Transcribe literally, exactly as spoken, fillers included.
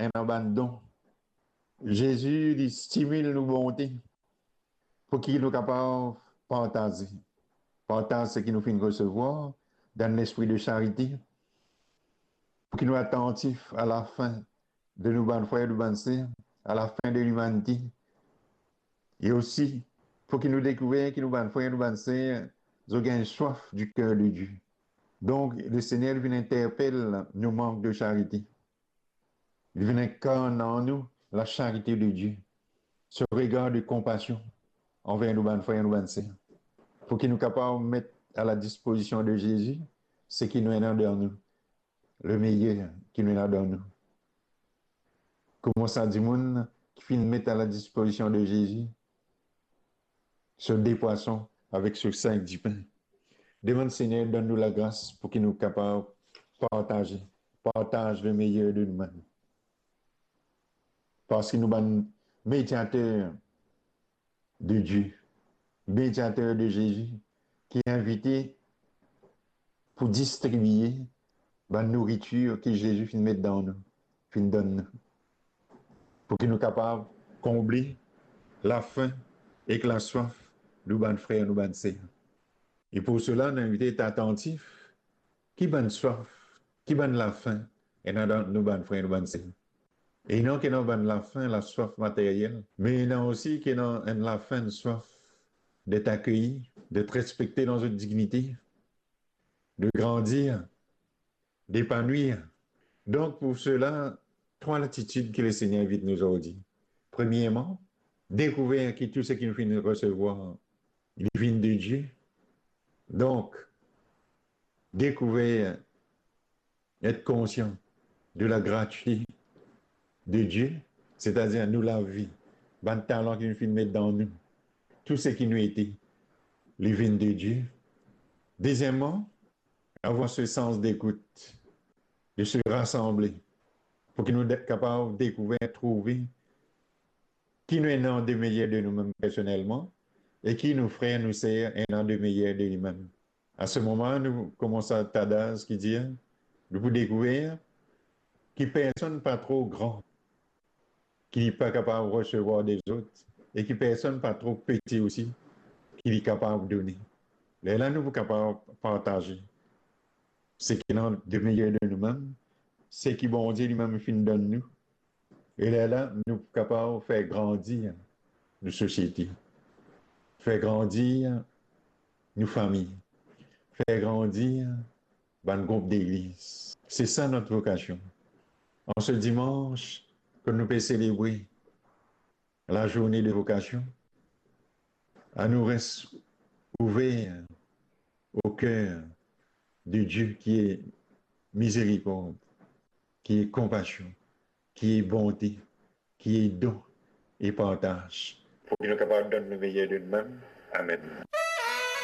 ena bann don. Zezi, li stimil nou bonte pou ki nou kapav partaze. Partaz seki nou finn resevwar dan lespri de charite, pou ki nou atantif a lafin de nou bann frer, nou bann ser, a lafin de limanite, e osi pou ki nou dekouver ki nou bann frer, nou bann ser, zot gagn swaf di ker de Die. Donk, Lesegner, li vinn interpel nou mank de charite. Li vinn inkarn an nou lasharite de Die, se regar de konpasion anver nou bann frer, nou bann ser, pou ki nou kapav met a ladispozision de Zezi seki nou ena dan nou, lemeyer ki nou ena dan nou. Kouma sa dimoun ki finn met a ladispozision de Zezi so de pwason avek so sink dipin. Demann Segner donn nou lagras pou ki nou kapav partaze, partaz lemeyer de noumem. Parski nou bann mediater de Die, mediater de Zezi, ki invite pou distribie bann nouritir ki Zezi finn met dan nou, finn donn nou, pou ki nou kapav konble lafin ek laswaf nou bann frer, nou bann ser. E pou sela, nou invite et atantif ki bann swaf, ki bann lafin ena dan nou bann frer, nou bann ser. E non ki ena bann lafin, laswaf materyel, me ena osi ki ena enn lafin, enn swaf d'et akeye, d'et respekte dan zot dignite, de grandir, depanwir. Donk, pou sela, trwa latitid ki Lesegner invit nou zordi. Premierman, dekouver ki tou seki nou finn resevwar, li vinn de Die. Donk, dekouver, et konsian de lagratite de Die, setadir nou lavi, bann talan ki li finn met dan nou, tou seki nou ete, li vinn de Die. Dezieman, avoir se sans dekout, de se rasanble, pou ki nou de-, kapav dekouver, trouve ki nou ena de meyer de noumem personelman e ki nou frer, nou ser ena de meyer de limem. A se moman, nou koumans a tadaz ki dir, nou pou dekouver ki personn pa tro gran ki li pa kapav resevwar de zot, e ki personn pa tro peti osi ki li kapav done. Lerla nou pou kapav partaze seki ena de meyer de noumem, seki Bondie limem finn donn nou. E lerla nou pou kapav fer grandir nou sosiete, fer grandir nou fami, fer grandir bann group legliz. Se sa nou vokasion. An se dimans, kan nou pe selebre lazourne de vokasion, anou res ouver o ker de Die ki e mizerikord, ki e konpasion, ki e bonte, ki e don e partaz, pou ki nou kapav donn nou meyer de noumem. Amen.